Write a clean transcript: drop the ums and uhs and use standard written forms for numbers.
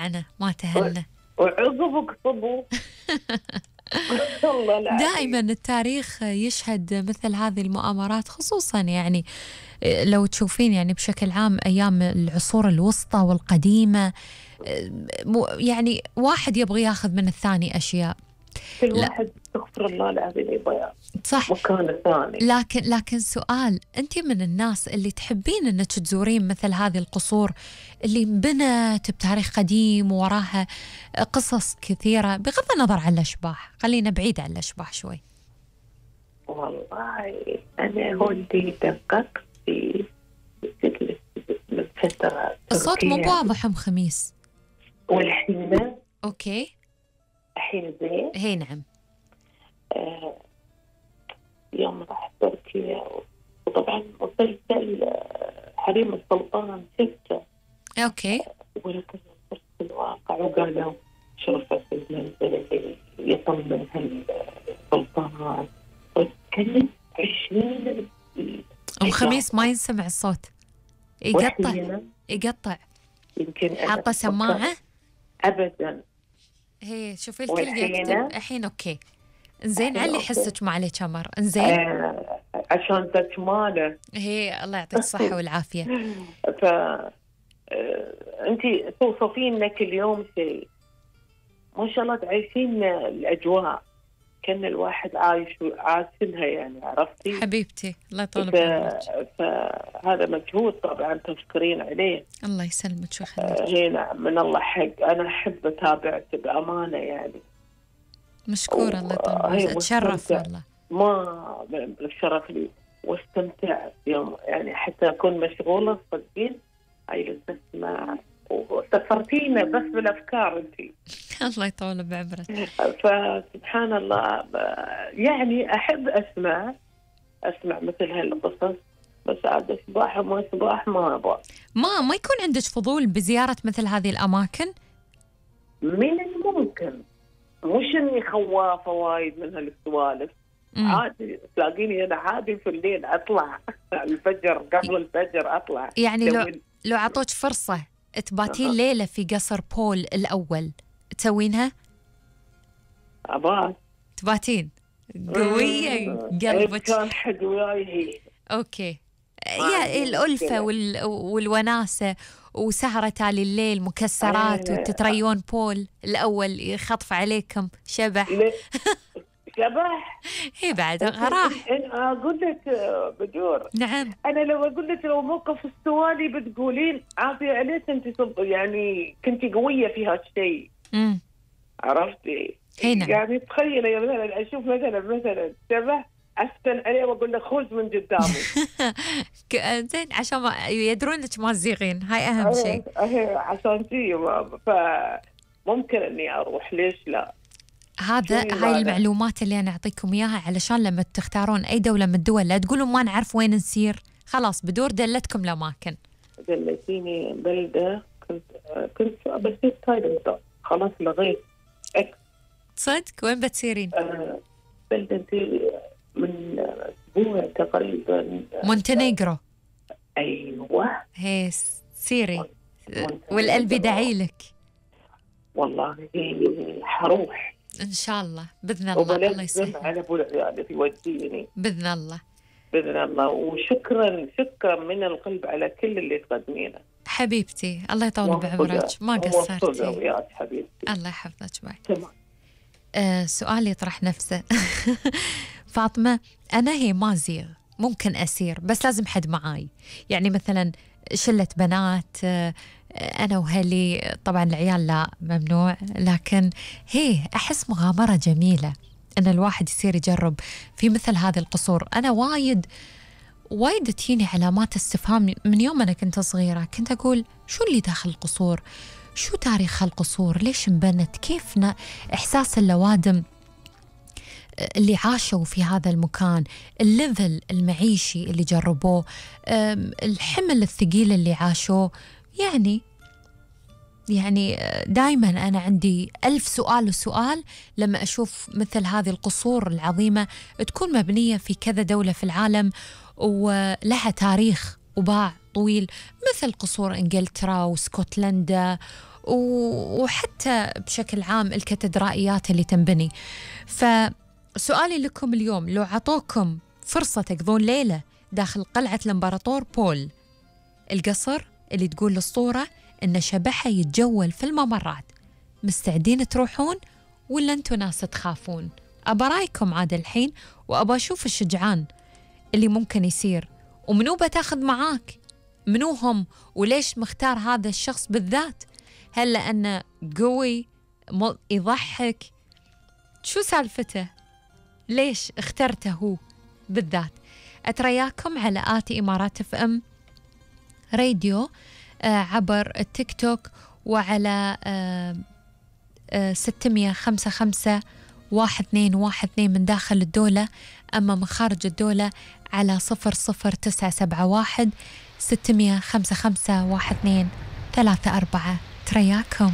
رجعنا ما تهنا. وعقب قصبوا. والله العظيم. دائما التاريخ يشهد مثل هذه المؤامرات، خصوصا يعني لو تشوفين يعني بشكل عام أيام العصور الوسطى والقديمة، يعني واحد يبغى ياخذ من الثاني أشياء. كل واحد استغفر الله العظيم يبغى صح مكان الثاني. لكن سؤال، أنت من الناس اللي تحبين أنك تزورين مثل هذه القصور اللي انبنت بتاريخ قديم ووراها قصص كثيرة، بغض النظر عن الأشباح، خلينا بعيد عن الأشباح شوي؟ والله أنا ولدي دققت في من فترة. الصوت مو واضح أم خميس. والحين أوكي الحين زين. هي نعم. يوم رحت تركيا وطبعا مسلسل حريم السلطان شفته. أوكي. ولكن صرت في الواقع وقالوا شرفة المنزل اللي يصمم هالسلطان كانت 20. أم خميس ما ينسمع الصوت، يقطع. يمكن حاطة سماعة؟ أبدا. هي شوفي الكل يكتب الحين. أوكي إنزين، علي حسك ما عليك أمر. إنزين عشان تكماله. هي الله يعطيك الصحة والعافية. أنت توصفين لك اليوم شيء ما شاء الله، تعيشين الأجواء كان الواحد عايشينها يعني، عرفتي حبيبتي الله يطول بعمرك. فهذا مجهود طبعا تشكرين عليه. الله يسلمك ويخليك. هنا من الله حق، أنا أحب أتابعك بأمانة يعني. مشكورة الله يطول بعمرك، أتشرف والله. ما الشرف لي واستمتعت يوم يعني، حتى أكون مشغولة صدقين هاي اسمع وسفرتينا بس بالأفكار أنتي. الله يطول بعمرك. فسبحان الله يعني أحب أسمع مثل هالقصص، بس عاد صباح وما صباح ما أبغى. ما يكون عندك فضول بزيارة مثل هذه الأماكن؟ من الممكن، مش إني خوافة وايد من هالسوالف. عادي تلاقيني أنا عادي في الليل أطلع الفجر، قبل الفجر أطلع. يعني لو عطوك فرصة تباتين ليلة في قصر بول الأول تسوينها؟ أبغى تباتين قوية قلبك. كان حد وياي هي. أوكي يا الألفة والوناسة وسهرة تالي الليل مكسرات وتتريون بول الأول يخطف عليكم شبح. شبح هي بعد راح. أنا أقول لك بدور. نعم. أنا لو أقول لك لو موقف السوالي بتقولين عافية عليك أنت يعني كنتي قوية في هالشيء. عرفتي؟ نعم. يعني تخيلي مثلا أشوف مثلا شبح أستن عليه وأقول له خذ من قدامي. زين عشان ما يدرون إنك ما تزيغين، هاي أهم شيء. عشان شيء فممكن إني أروح، ليش لا؟ هاي المعلومات اللي أنا أعطيكم إياها علشان لما تختارون أي دولة من الدول لا تقولوا ما نعرف وين نسير. خلاص بدور دلتكم الأماكن. دلتيني بلدة كنت بسير تايلاند، خلاص لغيت. صدق وين بتسيرين؟ بلدة من أسبوع تقريبا. مونتينيغرو. أيوة هي سيري والقلب يدعي لك. والله حروح إن شاء الله بإذن الله. الله يسلمك. على أبو العيال يوديني بإذن الله. بإذن الله. وشكرا من القلب على كل اللي تقدمينه حبيبتي. الله يطول بعمرك، ما قصرتي. وياك حبيبتي. الله يحفظك. باي. تمام. سؤال يطرح نفسه. فاطمة أنا هي ما زيغ، ممكن أسير بس لازم حد معاي، يعني مثلا شلة بنات أنا وهلي، طبعا العيال لا ممنوع، لكن هي أحس مغامرة جميلة أن الواحد يصير يجرب في مثل هذه القصور. أنا وايد تجيني علامات استفهام من يوم أنا كنت صغيرة، كنت أقول شو اللي داخل القصور، شو تاريخ القصور، ليش انبنت، كيف إحساس اللوادم اللي عاشوا في هذا المكان، الليفل المعيشي اللي جربوه، الحمل الثقيل اللي عاشوه. يعني دايما أنا عندي 1000 سؤال لما أشوف مثل هذه القصور العظيمة تكون مبنية في كذا دولة في العالم ولها تاريخ وباع طويل، مثل قصور إنجلترا واسكتلندا وحتى بشكل عام الكاتدرائيات اللي تنبني. فسؤالي لكم اليوم، لو عطوكم فرصة تقضون ليلة داخل قلعة الإمبراطور بول، القصر اللي تقول الصورة إن شبحها يتجول في الممرات، مستعدين تروحون ولا أنتوا ناس تخافون؟ أبا رايكم عاد الحين، وأبا أشوف الشجعان اللي ممكن يصير، ومنو بتاخذ معاك، منو هم، وليش مختار هذا الشخص بالذات؟ هل لأنه قوي يضحك؟ شو سالفته؟ ليش اخترته هو بالذات؟ أترياكم على آتي إمارات اف ام راديو عبر التيك توك، وعلى 655 1212 من داخل الدولة، أما من خارج الدولة على 00971 655 1234. ترياكم.